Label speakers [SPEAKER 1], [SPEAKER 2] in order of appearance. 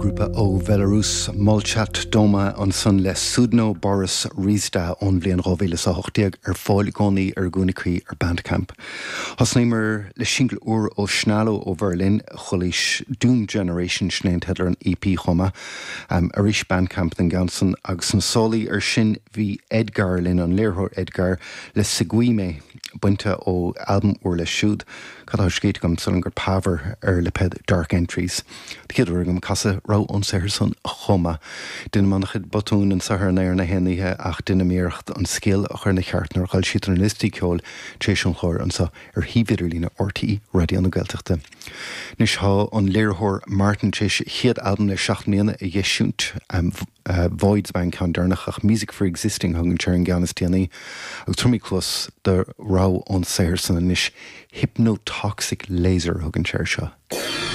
[SPEAKER 1] Grúpa ó Bhelarús, Molchat Doma ansan le Sudno Boris Rizda ón bhliain 2018 ar fáil i gcónaí ar a gcúinne cuí ar Bandcamp. Thosnaíomar le singil úr ó Shnalo ó Bheirlin, Chulaois Doom Generation, sin é an teideal ar an EP chomh maith. Arís Bandcamp don gceann san agus sna sálaí ar sin bhí Edgar linn, an léiritheoir Edgar le Seguime bainte ó albam úr leis siúd. Cad atá scríte agam? Sílim gur Pavor ar lipéad Dark Entries. An chéad uair agam casadh rogha ón saothar san chomh maith. Deinim an-chuid botúin anseo ar an aer na haon oíche ach deinim iarracht an scéal a chur ina cheart nuair a fhoilsítear na liostaí ceoil tar éis an chláir anseo ar shuíomh idirlíne RTÉ Raidió na Gaeltachta. Anois tá an léiritheoir Martyn tar éis a chéad albam le 7 mbliana a dh'eisiúint. Voids ab ea an ceann deireanach ach Music for Existing a thugann sé ar an gceann is déanaí agus tabharfaimid cluas do rogha ón saothar san anois. Hypnotoxic Laser a thugann sé air seo.